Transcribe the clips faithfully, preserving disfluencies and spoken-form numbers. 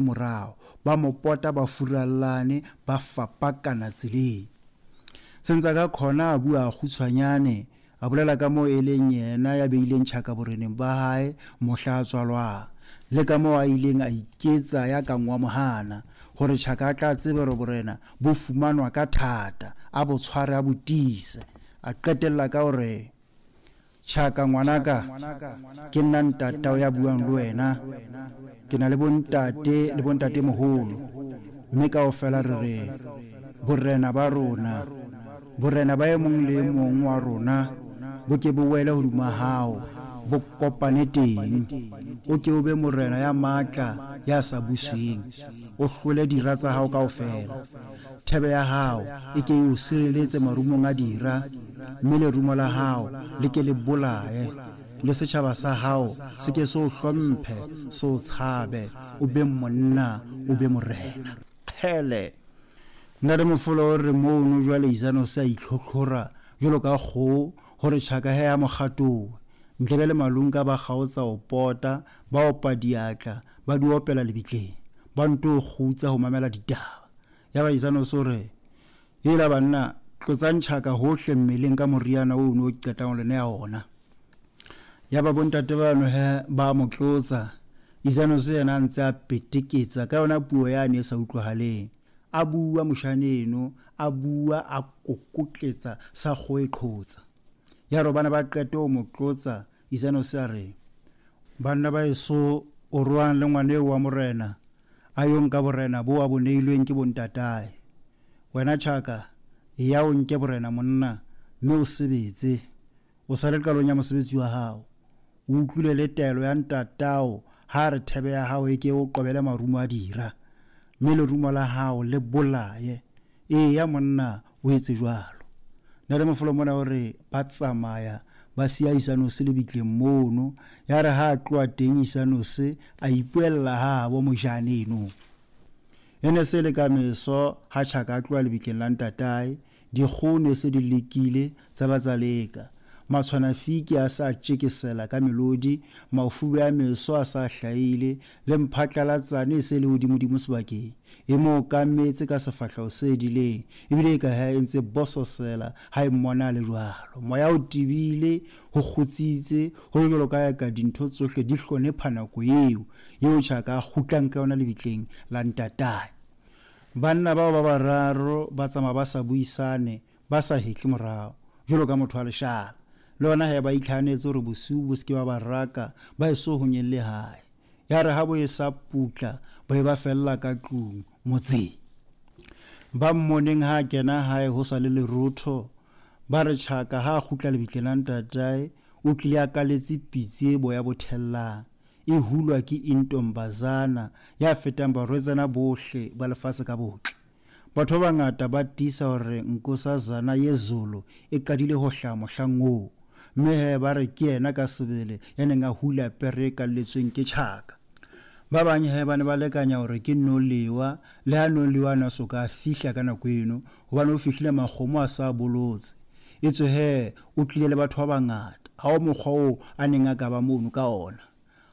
Morao, ba mo pota ba furallane, ba fapakana tseleng. Senzangakhona a bua kgutshwanyane, a bolela ka moo e leng yena ya beileng Tjhaka boreneng ba hae mohla a tswalwang, le ka moo a ileng a iketsa ya kang wa mo hana, hore Tjhaka a tla tsebe hore borena bo fumanwa ka thata, a bo tshware a bo tiise. A qetella ka hore, Tjhaka ngwanaka, ke nna ntatao ya buang le wena. Ke na le bontate le bontatemoholo, mme kaofela re re borena ba rona, borena ba e mong le e mong wa rona bo ke bo wele hodima hao, bo kopane teng. O ke o be morena ya matla, ya sa busweng, o hlole dira tsa hao kaofela. Thebe ya hao e ke e o sireletse marumong a dira, mme lerumo la hao le ke le bolaye, le setjhaba sa hao se ke se o hlomphe, se o tshabe, o be monna, o be morena. Kgele! Ntate Mofolo o re mono jwale Izano se a itlhotlhora jwalo ka kgoho hore Tjhaka he a mo kgatowe. Ndlebe le Malunka ba kgaotsa ho pota, ba opa diatla, ba di opela lebitleng, ba nto kgutsa ho mamela ditaba. Yaba Izano o re, "Hela banna, tlotsang Tjhaka hohle mmeleng ka moriana oo o qetang ho le neha ona." Yaba bontate bano he ba mo tlotsa. Izano yena a ntse a peteketsa ka yona puo yane e sa utlwahaleng. A bua moshane eno, a bua a kokotletsa sa kgoho e qhotsa. Ya re bana ba qete ho mo tlotsa, Izano a re, "Banna ba eso o roang le ngwana eo wa morena, a yo nka borena bo a bo neilweng ke bontatae. Wena Tjhaka, eya o nke borena monna, mme o sebetse. O sa le qalong ya mosebetsi wa hao. O utlwile le taelo ya ntatao ha re thebe ya hao e ke o qobele marumo a dira, mme lerumo la hao le bolaye. Eya monna, o etse jwalo." Ntate Mofolo mona o re ba tsamaya ba siya Isanose lebitleng mono. Ya re ha a tloha teng Isanose a ipuella habo mojane eno. E ne se le ka meso ha Tjhaka a tloha lebitleng la ntatae, dikgoho ne se di lekile tsa ba tsa leka. Matshwanafiki a sa tjekesela ka melodi, mafube a meso a sa hlahile, le mphatlalatsane e se le hodimodimo sebakeng. E mo okametse ka sefahleho se dileng, ebile e ka ha e ntse bososela ha e mmona le jwalo. Moya o tebile, ho kgutsitse, ho le jwalo ka ka dintho tsohle di hlonepha nako eo, eo Tjhaka a kgutlang ka yona lebitleng la ntatae. Banna bao ba bararo ba tsamaya ba sa buisane, ba sa hetle morao, jwalo ka motho wa leshala. Le hona he ba itlhahanetse hore bosiu bo se ke ba ba raka, ba eso ho nyelle hae. Ya re ha bo e sa putla, ba be ba fella ka tlung motseng. Ba mmoneng ha a kena hae ho sa le lerotho, ba re Tjhaka ha a kgutla lebitleng la ntatae, o tlile a kaletse pitsi e boya bo thellang, e hulwa ke intombazana ya fetang barwetsana bohle ba lefatshe ka botle. Batho ba bangata ba tiisa hore nkosazana ye Zulu e qadile ho hlaha mohlang oo, mme he ba re ke yena ka sebele ya neng a hula pere e kalletsweng ke Tjhaka. Ba bang he ba ne ba lekanya hore ke Noliwa, le ha Noliwa a na soka a fihla ka nako eno, hobane o fihlile makgomo a sa bolotse. Etswe he o tlile le batho ba bangata, ha ho mokgwa oo a neng a ka ba mono ka ona.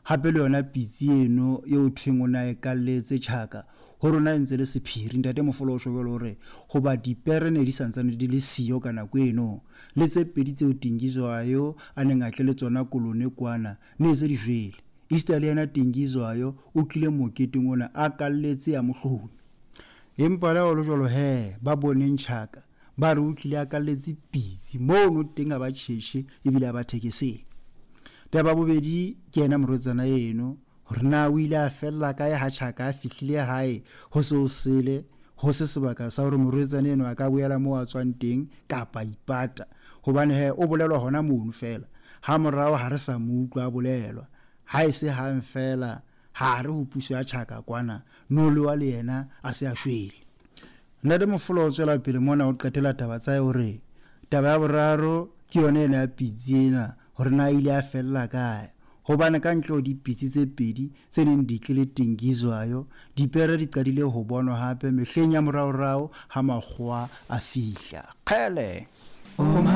Hape le yona pitsi eno eo thweng o na e kalletse Tjhaka, ho rona e ntse le sephiri. Ntate Mofolo o tjho jwalo hore hoba dipere ne di santsane di le siyo ka nako eno, le tse pedi tseo Tingizwayo a neng a tle le tsona kolone kwana ne se di jwele. Esita le yena Tingizwayo o tlile moketeng ona a kalletse ya mohlomi. Empa le ha ho le jwalo he, ba boneng Tjhaka ba re o tlile a kalletse pitsi mono teng, a ba tjhetjhe ebile a ba thekesele. Taba bobedi ke yena morwetsana eno, hore na o ile a fella kae ha Tjhaka a fihlile hae ho se ho sele, ho se sebaka sa hore morwetsana eno a ka boela moo a tswang teng kapa ipata, hobane he o bolelwa hona mono feela. Ha morao ha re sa mo utlwa a bolelwa, ha e se hang feela ha re ho puso ya Tjhaka kwana, Noliwa le yena a se a shwele. Ntate Mofolo o tswela pele mona o qetela taba tsa hae hore taba ya boraro ke yona ena ya pitsi ena, hore na ile a fella kae. Hobane ka ntle ho dipitsi tse pedi tse neng di tlile Tingizwayo, dipere di qadile ho bonwa hape mehleng ya moraorao ha makgowa a fihla. Kgele!